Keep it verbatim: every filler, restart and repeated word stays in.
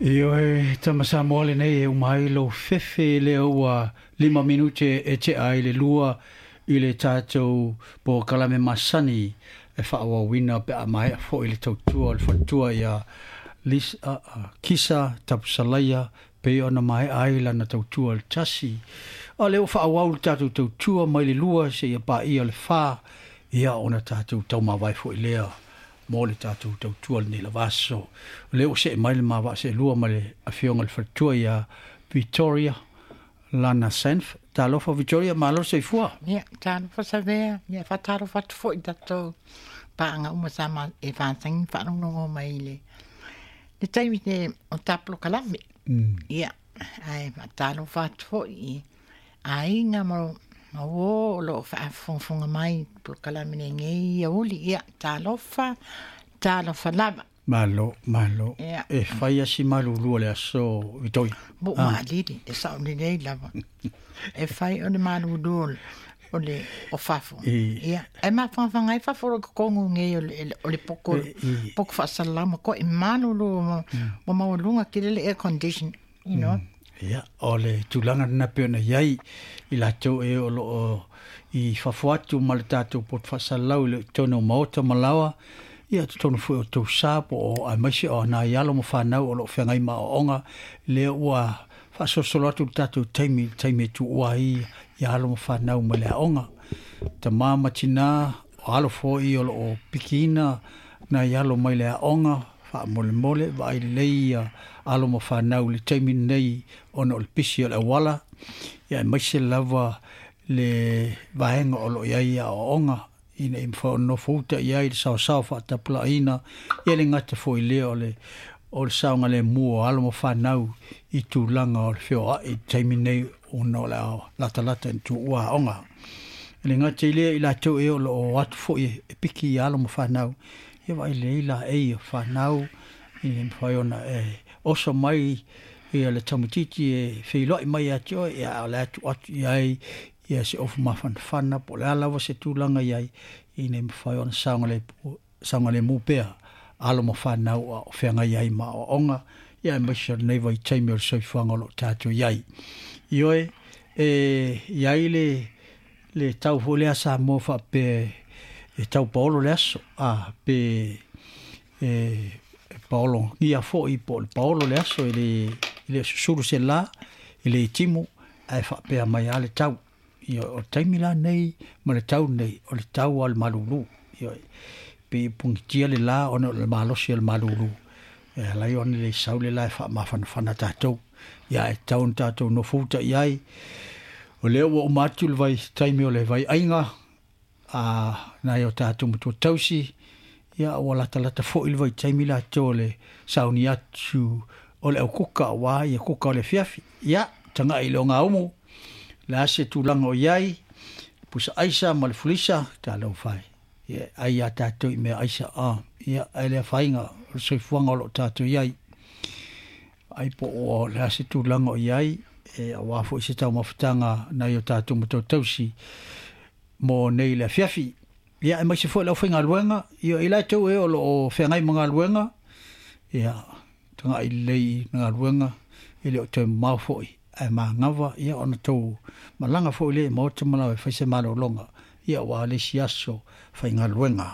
Ioe tama Samoa lenei e uma ai lou fefe lea ua lima minute e tea ai le lua i le tatou polokalame masani e faaauauina pe a maea foi le tautua o le faletua ia Lisa, uh, Kisa Tapusalaia pei ona maea ai lana tautua le tasi. A lea ua faaauau le tatou tautua mai le lua seia paia le fa, ia ona tatou taumavae foi lea mo le tatou tautua lenei lava aso. O lea ua see mai le ma vaaseelua ma le afioga i le faletua ia Victoria Lana Sanf. Talofa Victoria, malo le soifua. Ia, talofa Savea, ia faatalofa atu foi i tatou paaga uma sa ma e vasagi faalogologo mai i le le taimi te o ta polokalame. Mm. Ia, ae faatalofa atu foi i aiga ma ma uō o loo faafogafoga mai i polokalame lenei iauli. Ia, talofa, talofa lava. Malo, malo. Ia. E fai asi malulu o le aso, Victoria. Mo Ah. maalili, e sao lelei lava. E fai o le malulu o le o le o fafo. I, Ia, e mafangafaga ai fafo o le totogu nei o le o le poko e, i, poko faasalalau ma koe malulu ma ma maualuga tele le air condition, you know. Ia, o le tulaga lena pei ona iai i latou e o loo i fafo atu ma le tatou poto faasalalau i le totonu o maota ma laoa, ia totonu foi o tausa po o aemaise o nai alo ma fanau o loo feagai ma aoaoga, lea ua faasolosolo atu le tatou taimi i le taimi e tuua ai ia alo ma fanau mai le aoga. Tamā ma tinā, o alo foi o loo pikiina nai alo mai le aoga, faamolemole, vaai lelei ia alo ma fanau i le taimi lenei ona o le pisi o le auala, ia aemaise lava le vaega o loo iai aoaoga ina ia mafai ona nofo uta i ai le saosao faatapulaaina, ia le gata foi lea o le o le saogalemu o alo ma fanau i tulaga o le feoai i le taimi nei ona o le a latalata ina tuua aoga. E le gata i lea i latou e o loo o atu foi e piki ia alo ma fanau, ia vaai lelei laei o fanau ina ia mafai ona e oso mai ia le tamaitiiti e feiloai mai ia te oe, ia a o le a tuu atu i ai ia se ofu mafanafana po o le a lava se tulaga i ai ina ia mafai ona saogalemu pea alo ma fanau a o feagai ai ma aoaoga, ia aemaise o lenei vaitaimi o le soifuaga o loo tatou iai. Ioe, e iai le le tau foi lea Samoa faapea e tau paolo le aso, a pe e, e paologia foi po o le paolo le aso e le e le o susulu se la, e le timu, ae faapea mai lava le tau. Ia, o le taimi la nei ma le tau nei, o le tau lava o le malulu. Ioe, pe pugitia le la ona o le malosi o le malulu. E ala ai ona le sau le la e faamafanafana tatou. Ia, e tatau ona tatou nofo uta i ai. O lea ua uma atu le vaitaimi o le vaiaiga a nai o tatou matua tausi, ia ua latalata foi le vaitaimi latou o le sauni atu o le aukuka aua ia kuka o le afiafi. Ia, tagai i le ogaumu, le a se tulaga o i ai, pusa aisa ma le fulisa, talofa e. Ia, ai ia tatou i mea aisa a, ia, ae le afaina o le soifuaga o loo tatou i ai. Ai po o le a se tulaga o i ai, e aua foi se taumafataga nai o tatou matua tausi mo nei le afiafi. Ia, aemaise foi le aufaigaluega, ia i latou e o loo feagai ma galuega, ia, tagai lelei i galuega, e le o toe mamao foi, ae magava, ia ona tou malaga foi lea i maota ma laoa e fai se malologa, ia aua le isi aso faigaluega.